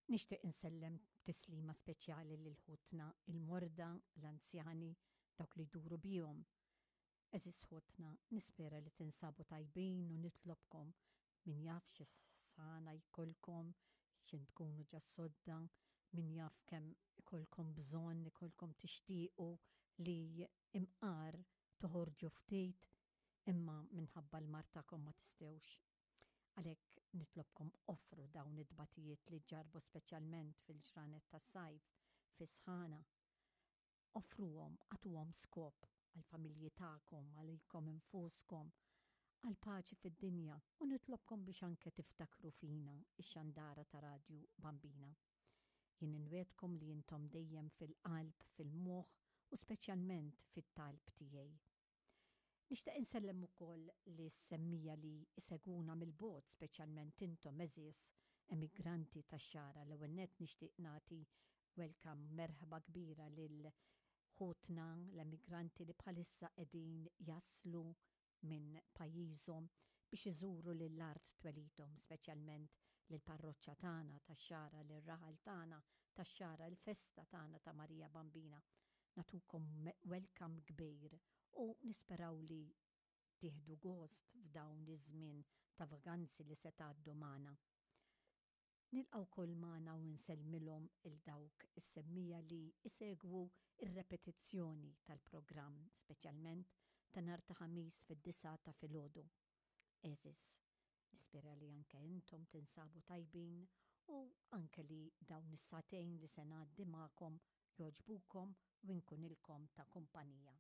Nixtieq insellem tislima speċjali lil ħutna il-morda, l-anzjani, dawk li jduru bihom. Għeżież ħutna, nispera li tinsabu tajbin u nitlobkom min jaf xi sħana jkollkom, x'in tkunu ġa sodda, min jaf kemm ikollkom bżonn, ikollkom tixtiequ li imqar toħorġu ftit, imma minħabba l-mard tagħkom ma tistgħux. Għalhekk nitlobkom offru dawn it-tbatijiet li ġġarrbu speċjalment fil-ġranet tas-sajf, fis-sħana. Offruhom, agħtuhom skop għall-familji tagħkom, għalikom infuskom, għall-paċi fid-dinja u nitlobkom biex anke tiftakru fina, ix-xandara ta' Radju Bambina. Jien inwiegħdkom li intom dejjem fil-qalb, fil-moħħ u speċjalment fit-talb tiegħi. Nixtieq insellem ukoll lis-semmija li jsegwuna mill-bogħod speċjalment intom għeżież emigranti tax-Xagħra. L-ewwel nett nixtieq nagħti welcome, merħba kbira lil ħutna l-emigranti li bħalissa qegħdin jaslu minn pajjiżhom biex iżuru lil art twelidhom, speċjalment lill-parroċċa tagħna tax-Xagħra, lir-raħal tagħna tax-Xagħra, il-festa tagħna ta' Marija Bambina. Nagħtukom welcome kbir u nisperaw li tieħdu gost f'dawn iż-żmien ta' vaganzi li se tgħaddu magħna. Nilqa' wkoll magħna u nsellmilhom il dawk is-semmija li jsegwu r-repetizzjoni tal-programm, speċjalment ta' nhar ta' Ħamis fid-disgħa ta' filgħodu. Għeżież, nispera li anke intom tinsabu tajbin u anke li dawn is-sagħtejn li se ngħaddi magħkom jogħġbukom u nkunilkom ta' kumpanija.